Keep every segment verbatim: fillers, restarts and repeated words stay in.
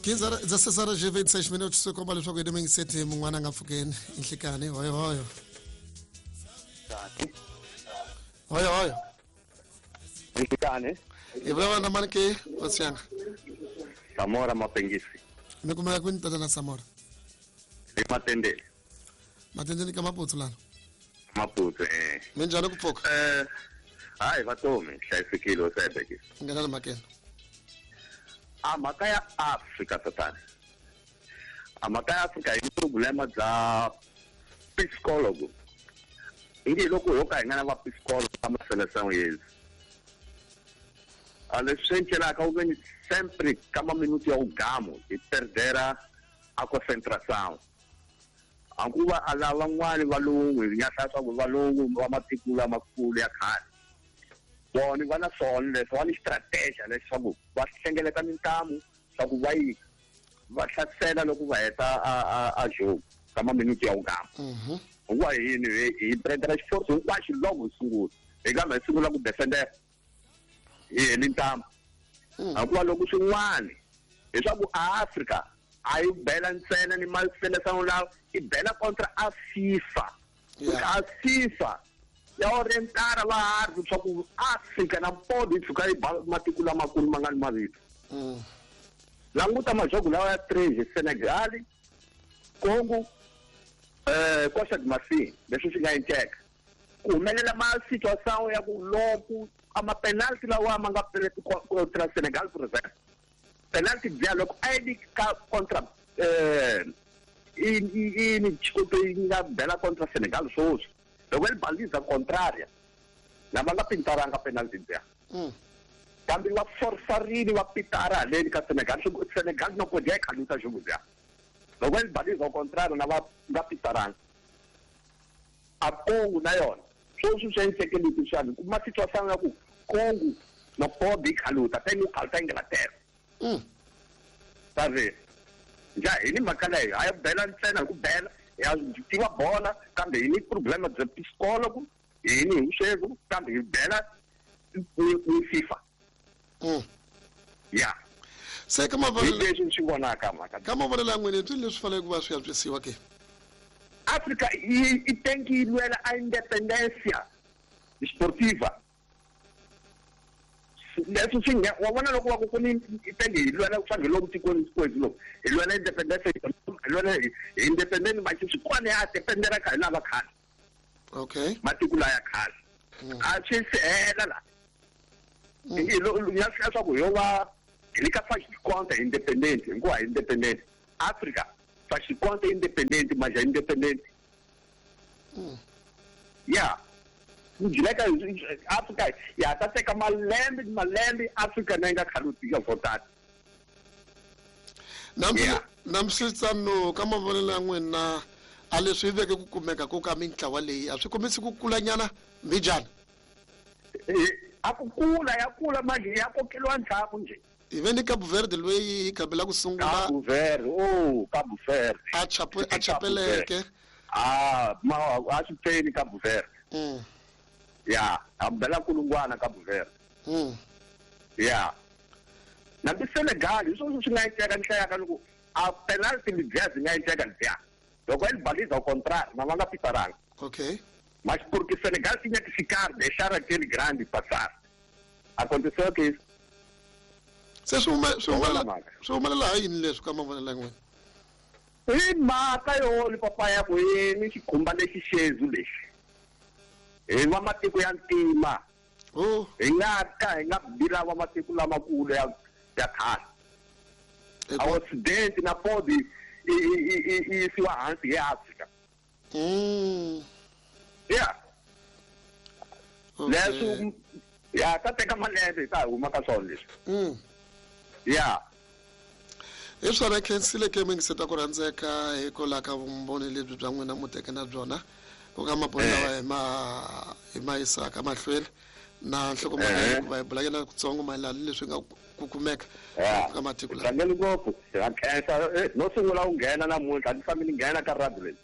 quinze horas, dezesseis horas e vinte e seis minutos, se komba leswaku hi mingiseti mun'wana a nga pfukeni nhlikani hoyo hoyo. Hoyo hoyo. Nhlikani. Hi vulavula na mani ke Otsianga? Samora Mapengisi. Mi kumeka kwini tatana Samora? Hi Matendeni. Matendeni ka Maputo lana? Maputo eh. Minjhani ku pfuka? Eh, hayi vatomi hlayisekile osebeke. Nghena na makena. A mhaka ya Afrika tatana. A mhaka ya Afrika yi problema bya psikologo. Ingi loko ho ka hi nga na va psikologo ka maseleção yezi. A leswi encelaka u veni sempre ka minuto ya ugamo hi perdera a concentração. Ankuva a lava van'wani valungu hi nga hlaya swa ku valungu va matiko lamakulu ya khale. Vona va na swona leswi va ni strategy leswaku va hlengeleta mintamu swa ku va yi va hlasela loko va heta a a a jogo ka minuto ya ugamo. Hikuva yini hi perdera xiforso hinkwaxo loko hi sungula hi kambe hi sungula ku defender hi heli ntamu. Hikuva loko swin'wana leswaku a Afrika a yi bela ntsena ni maseleção lawa i bela contra a FIFA. A FIFA ya orientara va harhi leswaku Afrika na podi yi tshuka yi ba matiko lamakulu ma nga ni mavito. Languta majogo lawa ya três Senegal, Congo, eh Costa de Marfim, leswi swi nga endleka. Ku humelela ma situação ya ku loko a ma penalty lawa ma nga contra Senegal por exemplo. Penalty bya loko a yi ka contra eh i i ni desculpa yi nga bela contra Senegal swoswi. Loko yi baliza contraria lava nga pintaranga penalty bya. Kambe va forçarini va pitara haleni ka Senegal, Senegal no podia khaluta jogo bya. Loko yi baliza contrario na va nga pitaranga. A Congo na yona swoswi swi endleke leswi xana kuma situação ya ku Congo no pode khaluta tem o khaluta Inglaterra. Mm. Sabe? Já hi ni mhaka leyo a yi bela ntsena hi ku bela ya tiva bola kambe hi ni problema bya psikologo hi ni hi kambe hi bela ni FIFA. Mm. Ya. Se ka mavonelo leswi swi vonaka mhaka. Ka mavonelo ya n'wina leswi leswi faneleke ku va swi antswisiwa ke? Afrika yi yi tem que lwela a independência esportiva. Leswi swi nga wa vona loko va ku ku ni tenge hi lwela ku fana hi loko tikweni kwethu loko hi lwela independence hi lwela hi independent manje swi kwana ya dependera ka hi lava khale. Okay. Matiko la ya khale. A swi se hela la. Hi lo ya swa ku yo va hi le ka faz de conta independente, hikuva independent Africa faz de conta independente, mas é independente. Yeah. Njileka Afrika ya ta teka malembe malembe Afrika na nga khaluti ya votata. Namsi namsitsano ka mavonelo ya n'wina a leswi veke ku kumeka ku ka mintlawa leyi a swi kombisi ku kulanyana mbijana. A ku kula ya kula manje ya kokeliwa ndzhaku nje. Ive ni Cabo Verde loyi hi kambela ku sungula Cabo Verde, oh Cabo Verde. A chape a chapeleke. Ah, ma a swi pfeni Cabo Verde. Mm. Ya, a bela kulungwana Cabo Verde. Mm. Ya. Na bi Senegal, hi swona swi nga endleka nhlaya ka loko a penalty libya byi nga endleka libya. Loko yi baliza au contrario, na va nga pitaranga. Okay. Mas porque Senegal tinha que ficar, deixar aquele grande passar. Aconteceu que isso. Se swi swi swi humelela ha yini leswi ka mavonelo ya n'wina? Hi mhaka yo ni papa ya ku yini xikhumba lexi xezu lexi. Hi va matiko ya ntima. Oh. Hi nga ka hi nga bila va matiko lamakulu ya ya khale. A Ocidente na pode i i i isiwa hansi hi Afrika. Mm. Yeah. Leswi ya ta teka malembe hi ta huma ka swona leswi. Mm. Yeah. Hi swona khensile ke mingiseta ku rhandzeka hikwalaho ka vumbhoni lebyi bya n'wina mu teke na byona ku ka mabolo lawa hi ma hi ma yisaka mahlweni na nhlokomhaka hikuva hi bulanyana kutsongo mayelana ni leswi nga ku kumeka ka matiko lawa. Tlangeli ngopfu ha khensa no sungula ku nghena namuntlha a ni fambi ni nghena ka radio leyi.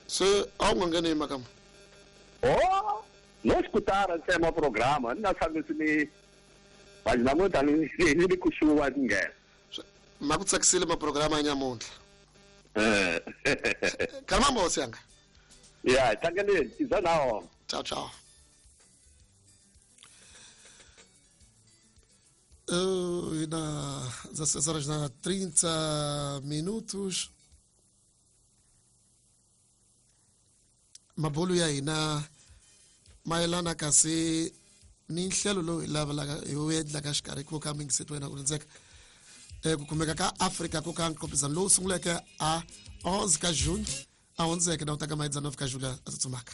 Se a wu nga ngheni hi mhaka muni? Oh, no escutara ntsena programa ni nga tshambisi ni vanhu namuntlha ni ni ni kusuhi ni nghena. Ma ku tsakisile maprograma ya nyamuntlha. Eh. Kalma hosi yanga. Ya, tlangeleni, iza nawo. Tchau, tchau. Uh, na dezesseis horas na trinta minutos. Mabulu ya hina mayelana kasi ni nhlelo lowu hi lavelaka hi wu endlaka xikarhi ku ka mingiseto wena ku rindzeka ku kumeka ka Afrika ku ka nkompizano lowu sunguleke a onze ka June a hundzeke na u ta ka maedzana ka July a tsutsumaka.